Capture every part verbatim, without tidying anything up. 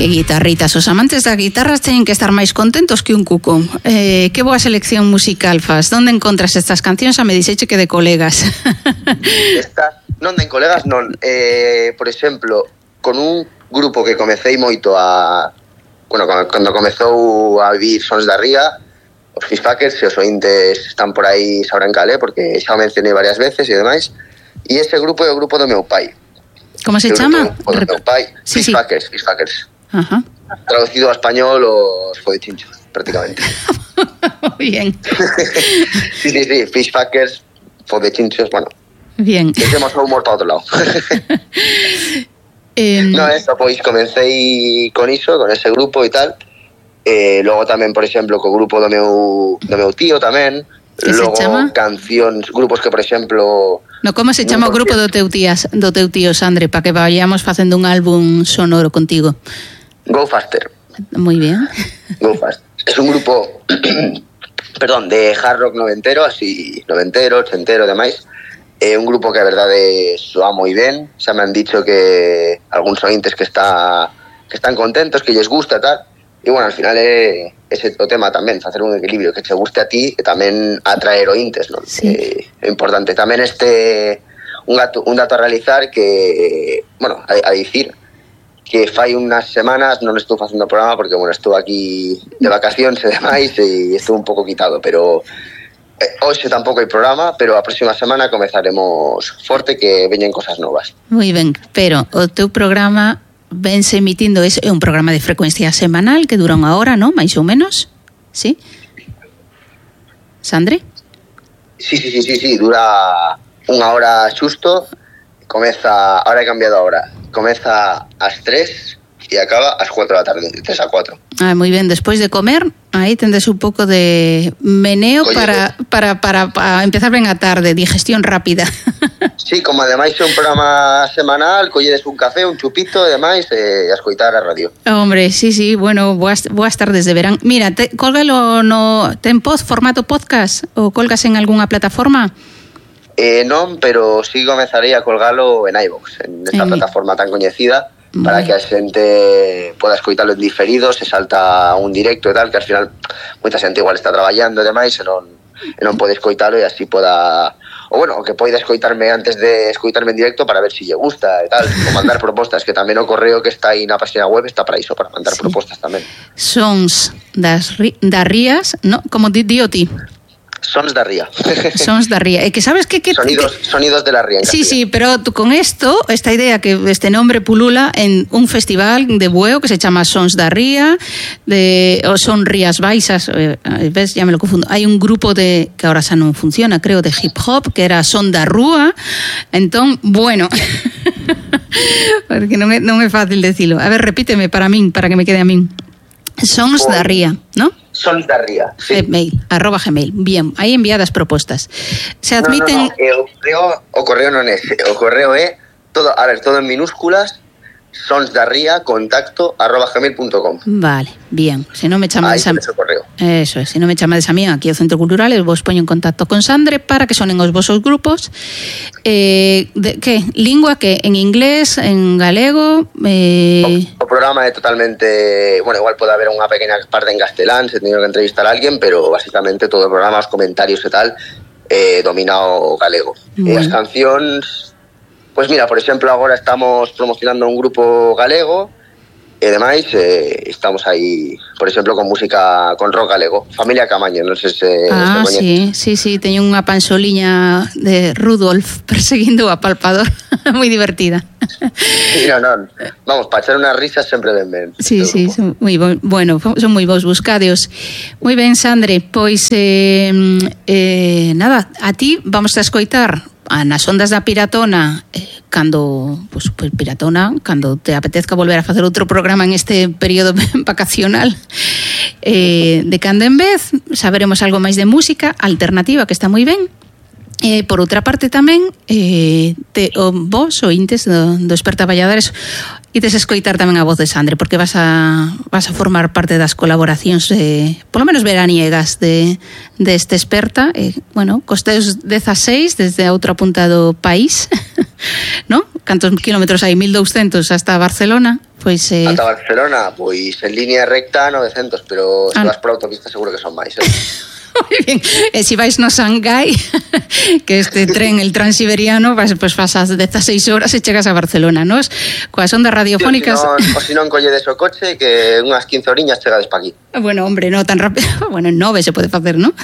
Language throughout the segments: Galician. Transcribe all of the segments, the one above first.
Que guitarritas, os amantes das guitarras teñen que estar máis contentos que un cuco. Eh, que boa selección musical fas. Donde encontras estas cancións? A me dixeche que de colegas. Estas, non de colegas, non. Eh, por exemplo, con un grupo que comecei moito a... Bueno, cando comezou a vivir Sons da Ría, os Fishfuckers, se os ointes están por aí sabrán cal, porque xa o mencionei varias veces e demais. E ese grupo é o grupo do meu pai. Como se chama? O do meu pai, sí, Fishfuckers, sí. Fishfuckers. Ajá. Traducido a español, os fodechinchos, prácticamente. Muy bien. Sí, sí, sí, Fishfuckers, fodechinchos, bueno. Bien. Temos o humor para outro lado. eh... No, eso, pois comencei con iso, con ese grupo e tal. Eh, logo tamén, por exemplo, co grupo do meu, do meu tío tamén. Que logo se chama? Cancións, grupos que, por exemplo... No, como se chama o grupo do teu tías, do teu tío, Sandre, para que vayamos facendo un álbum sonoro contigo? Go Faster. Muy bien. Go Faster. Es un grupo, perdón, de hard rock noventero, así, noventero, ochentero, demais. É eh, un grupo que a verdade soa moi ben. Xa me han dicho que algúns ointes que está que están contentos, que lles gusta e tal. E bueno, al final é ese o tema tamén, facer un equilibrio que che guste a ti e tamén atraer ointes, non? Sí. Eh, é importante. Tamén este un, gato, un dato a realizar que, bueno, a, a dicir que fai unhas semanas non estou facendo o programa porque, bueno, estou aquí de vacacións e demais e estou un pouco quitado, pero eh, hoxe tampouco hai programa, pero a próxima semana comezaremos forte que veñen cosas novas. Moi ben, pero o teu programa vense emitindo, é un programa de frecuencia semanal que dura unha hora, non? Mais ou menos, sí? Sandre? Sí, sí, sí, sí, sí, dura unha hora xusto, comeza, ahora he cambiado a hora, comeza ás tres e acaba ás cuatro da tarde, de tres a cuatro. Ah, moi ben, despois de comer, aí tendes un pouco de meneo para, para, para, para empezar ben a tarde, digestión rápida. Sí, como ademais é un programa semanal, colledes un café, un chupito e demais, e a escoitar a radio. Hombre, sí, sí, bueno, boas, boas tardes de verán. Mira, te, cólgalo no... Ten pod, formato podcast? Ou colgas en algunha plataforma? Eh, non, pero sí comezarei a colgalo en iVoox, en esta en... plataforma tan coñecida, para que a xente poda escoitalo en diferido, se salta un directo e tal, que al final moita xente igual está traballando e demais e non, e non pode escoitalo e así poda... O bueno, que poida escoitarme antes de escoitarme en directo para ver si lle gusta e tal, o mandar propostas, que tamén o correo que está aí na página web está para iso, para mandar sí. propostas tamén. Sons das, das rías, no? Como di, di o ti? Sons da Ría. Sons da Ría. E que sabes que... que sonidos, que... sonidos de la Ría. Sí, sí, pero tú con esto, esta idea que este nombre pulula en un festival de bueo que se chama Sons da Ría, de, o son Rías Baixas, eh, ves, ya me lo confundo. Hay un grupo de, que ahora xa non funciona, creo, de hip hop, que era Son da Rúa. Entón, bueno... porque non é, non é fácil decirlo. A ver, repíteme para min, para que me quede a min. Sons da Ría, ¿no? Sons da Ría, sí. Gmail, arroba Gmail. Bien, aí enviadas propostas. Se admiten... No, no, no. O correo, o correo non é ese. O correo é todo, a ver, todo en minúsculas. Sons da Ría, contacto, arroba gmail punto com. Vale, bien. Se non me chamades a... Eso é, se non me chamades a mí aquí ao Centro Cultural, eu vos poño en contacto con Sandre para que sonen os vosos grupos. Eh, de, que? Lingua que? En inglés, en galego? Eh... O, o programa é totalmente... Bueno, igual pode haber unha pequena parte en castelán, se teño que entrevistar a alguén, pero basicamente todo o programa, os comentarios e tal, eh, domina o galego. Bueno. E as cancións... Pues mira, por exemplo, agora estamos promocionando un grupo galego e demais, eh, estamos aí, por exemplo, con música, con rock galego, Familia Camaño, non sei se... Ah, se sí, sí, sí, teño unha pansoliña de Rudolf perseguindo o apalpador, moi divertida. Sí, non, non, vamos, para echar unhas risas sempre ben ben. Sí, sí, son moi bo, bueno, son moi vos buscadeos. Moi ben, Sandre, pois, eh, eh, nada, a ti vamos a escoitar a nas ondas da Piratona, eh, cando, pues, pues Piratona, cando te apetezca volver a facer outro programa en este período vacacional, eh, de cando en vez, saberemos algo máis de música alternativa, que está moi ben. Eh, por outra parte tamén, eh, te, o, vos, ointes do, do Esperta Valladares, ides escoitar tamén a voz de Sandre, porque vas a, vas a formar parte das colaboracións de, polo menos veraniegas de, de este Esperta, eh, bueno, costeos dezaseis desde a outra punta do país, ¿no? Cantos kilómetros hai? mil douscentos hasta Barcelona, Pois, eh... ata Barcelona, pois en línea recta novecientos, pero se ah, vas por autopista seguro que son máis, eh? Moi ben, e se vais no Shanghái, que este tren, el transiberiano, pues, pues pasas dezasseis horas e chegas a Barcelona, nos? Coas ondas radiofónicas... Sí, o se non colledes o coche, que unhas quince horiñas chegades pa aquí. Bueno, hombre, no tan rápido. Bueno, en nove se pode facer, ¿no?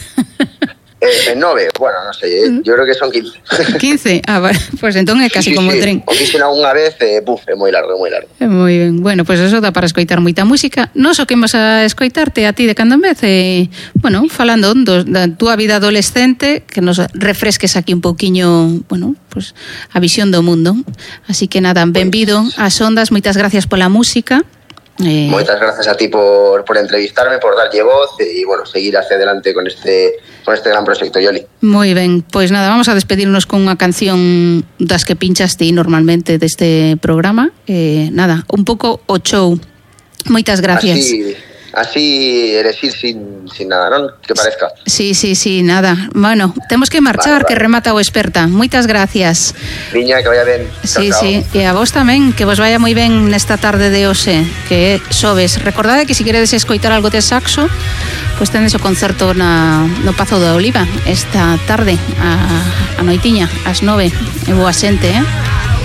Eh, en nove, bueno, non sei, eh, yo creo que son quince. quince? Ah, vale, pues entón é casi sí, sí, como sí. tren. O fixen algunha vez, eh, buf, é moi largo, é moi largo. Moi ben, bueno, pois pues eso dá para escoitar moita música. Nos o que imos a escoitarte a ti de cando en vez, eh, bueno, falando do, da túa vida adolescente, que nos refresques aquí un pouquiño, bueno, pues a visión do mundo. Así que nada, benvido ás ondas, moitas gracias pola música. Eh... Moitas gracias a ti por, por entrevistarme, por darlle voz e, bueno, seguir hacia adelante con este con este gran proxecto, Yoli. Moi ben, pois nada, vamos a despedirnos con unha canción das que pinchas ti normalmente deste programa. Eh, nada, un pouco o show. Moitas gracias. Así, así eres ir sin, sin nada, non? Que parezca. Sí, sí, sí, nada. Bueno, temos que marchar, vale, vale. Que remata o experta. Moitas gracias. Viña, que vaya ben. Sí, chao, sí, chao. e a vos tamén, que vos vaya moi ben nesta tarde de hoxe, que sobes. Recordade que se queredes escoitar algo de saxo, pois tendes o concerto na, no Pazo da Oliva esta tarde, a, a noitiña, ás nove. E boa xente, eh?